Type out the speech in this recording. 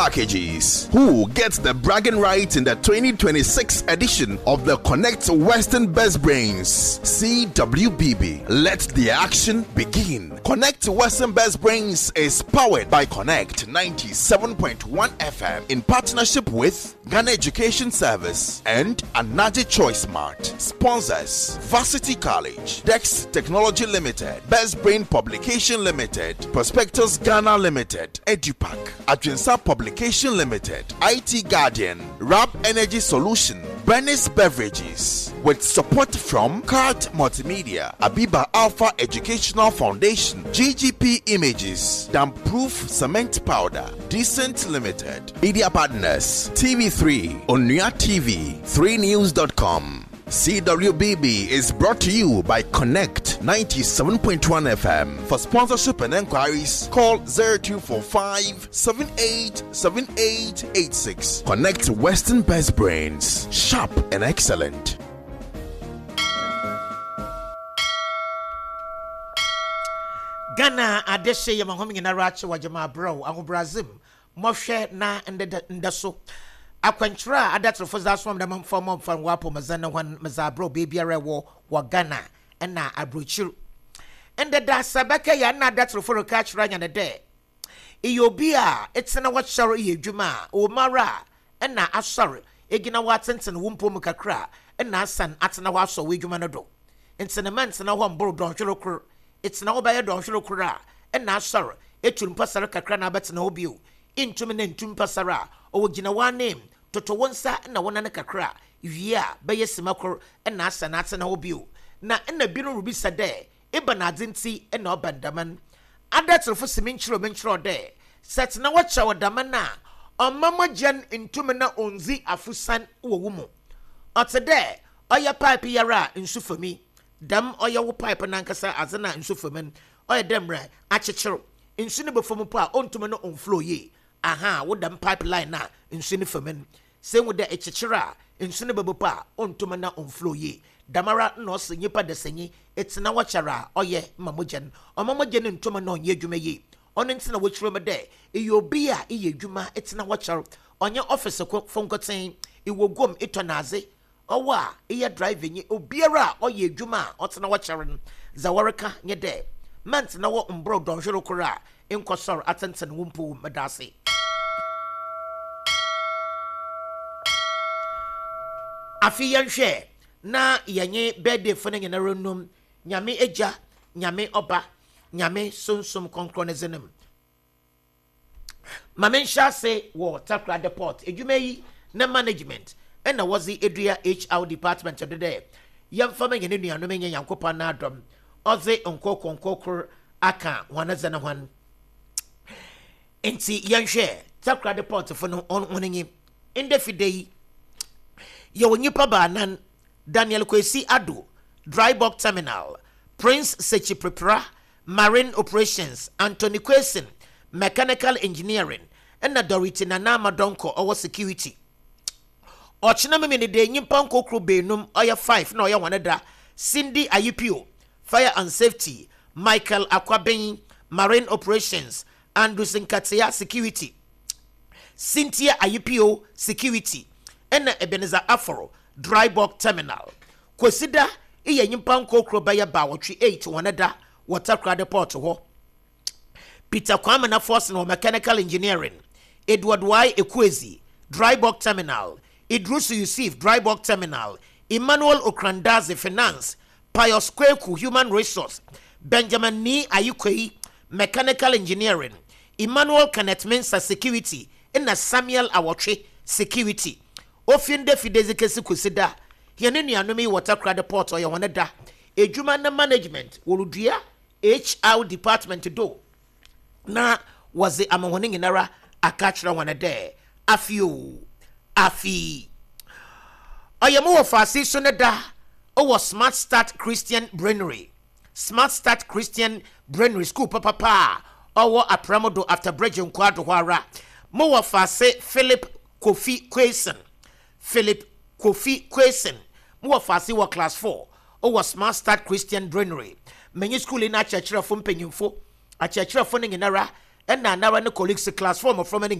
Packages. Who gets the bragging rights in the 2026 edition of the Connect Western Best Brains CWBB? Let the action begin. Connect Western Best Brains is powered by Connect 97.1 FM in partnership with Ghana Education Service and Anaji Choice Mart. Sponsors Varsity College, Dex Technology Limited, Best Brain Publication Limited, Prospectus Ghana Limited, EduPack, Adwinsa Publication Limited, IT Guardian, Rap Energy Solution, Bernice Beverages, with support from Cart Multimedia, Abiba Alpha Educational Foundation, GGP Images, Damproof Cement Powder, Decent Limited, Media Partners, TV3, Onua TV, 3news.com. CWBB is brought to you by Connect 97.1 FM. For sponsorship and enquiries, call 0245 787886. Connect Western Best Brains, sharp and excellent. Ghana adehye yɛ ma hom nyinara akye wɔ gyama abrɛw ahobrɛadze mu Mɔhwɛ na ndɛ ndɛ so akwankyerɛ a adatserfo dze asoma me dɛ memfa mfa ngua apɔwmudzen no hɔn medze abrɛ wo beebiara ewɔ wɔ Ghana na aborɔkyir. Ndɛ da sɛ bɛkɛyɛ a nna adatserfo reka akyerɛ hɛn dɛ eyɛ obi a etsena hɔ kyɛr yɛ edwuma a, ɔwɔ mu ara a nna asɔr egyina hɔ atsentsen wo mpɔw mu kakra nna asan atsena hɔ asɔ w'edwuma no do. Ntsi no mma nntsena hɔ mmbor dɔnhwer kor Etsena hɔ bɛyɛ dɔnhwer kor a, nna asɔr, etu mpasar kakra na abɛtsena hɔ bio. Inntum na nntu mpasar a, ɔwɔ gyina w'ananmu, toto wo nsa na wo nan kakra, wie a, bɛyɛ sima kor na asan atsena hɔ bio. Na nna binom ribisa dɛ, Ebɛnadze ntsi na ɔba no dɛm no? Adatserfo se menkyerɛw menkyerɛw dɛ, sɛ etsena hɔ kyɛw dɛm no a, ɔmma mogya no nntum na onndzi afosian wɔ wo mu. Ɔtse dɛ ɔyɛ pipe yi ara a nsu fa mu yi. Dɛm ɔyɛ wo pipe nankasa adze no a nsu fa mu no, ɔyɛ dɛ mbrɛ akyekyer nsu no bɔfa mu mpo a onntum no onnflow yie. Ahaa, wo dɛm pipe line no a nsu no fa mu no, sɛ ehu dɛ ekyekyer a nsu no bɛba mpo a onntum na onnflow yie. Dɛmara na ɔsɛ nyimpa dasanyi etsena hɔ kyɛr a ɔyɛ ma mogya no. Ɔmma mogya no nntum na ɔnnyɛ edwuma yie. Ɔno ntsi na wɔkyerɛ mu dɛ eyɛ obi a eyɛ edwuma etsena hɔ kyɛr, ɔnnyɛ ɔfese fo nkotsee, ewɔ guam etɔn adze, Ɔwo a eyɛ driver nye obiara a ɔyɛ edwuma a ɔtsena hɔ kyɛr no, dza wɔrekã nye dɛ, mma nntsena hɔ mmbor dɔnhwer kor a ennkɔsɔr atsentsen wo mpow. Meda ase. Afei yɛnhwɛ na yɛnye birthdayfo no nyinara nnum Nyame Egya, Nyame Ɔba, Nyame Sunsum Krɔnkrɔn ne dzin mu. Ma menhyɛ ase wɔ Takoradi Port edwuma yi ne management na wɔdze edua HR department do dɛ yɛmfa ma hɛn enuanom nyɛ Nyankopɔn n'adom ɔdze nkorkor nkorkor aka hɔn dze no hɔn. Ntsi yɛnhwɛ Takoradi Port fo no hɔn nye ndɛ fida yi yɛwɔ nyimpa baanan, Daniel Kwesi Addo, Dry Bulk Terminal, Prince Sekyi Prepra, Marine Operations, Anthony Quayson, Mechanical Engineering, nna Dorothy Nana Ama Donkor ɔwɔ Security. Ɔkyena Memeneda nyimpa nkorkor beenum ɔyɛ five na ɔyɛ hɔn da, Cindy Ayipio, Fire and Safety, Michael Akwaben, Marine Operations, Andrews Nkatsia, Security, Cynthia Ayipio, Security, nna Ebenezer Aforo, Dry Bulk Terminal. Kwesida yɛ nyimpa nkorkor bɛyɛ baawɔtwe eight hɔn da wɔ Takoradi Port hɔ. Peter Kwamena Forson wɔ Mechanical Engineering, Edward Y. Ekuedzi, Dry Bulk Terminal, Idrusu Yusif, Dry Bulk Terminal, Emmanuel Okrandaze, Finance, Pius Kweku, Human Resource, Benjamin Nii Ayikwei, Mechanical Engineering, Emmanuel Kenneth Mensah, Security, nna Samuel Awɔtwe, Security. Ofi ndɛ fi dɛ dze kesi Kwesida, hɛn enuanom yi wɔ Takoradi Port ɔyɛ hɔn da edwuma na management worudua HR department do na wɔdze ama hɔn nyinara aka akyerɛ hɔn dɛ afe o afe. Ɔyɛ mo wɔfaase so ne da wɔ Smart Start Christian Brainery, Smart Start Christian Brainery skuul papapa a ɔwɔ Aprɛmo do after Bridge Nkoado hɔ ara. Mo wɔfaase Philip Kofi Quayson, Philip Kofi Quayson, mo wɔfaase wɔ Class 4 wɔ Smart Start Christian Brainery. Menye skuul yi n'akyerɛkyerɛfo mpanyimfo, akyerɛkyerɛfo no nyinara na anara ne colleagues Class 4 mboframba no nyinara.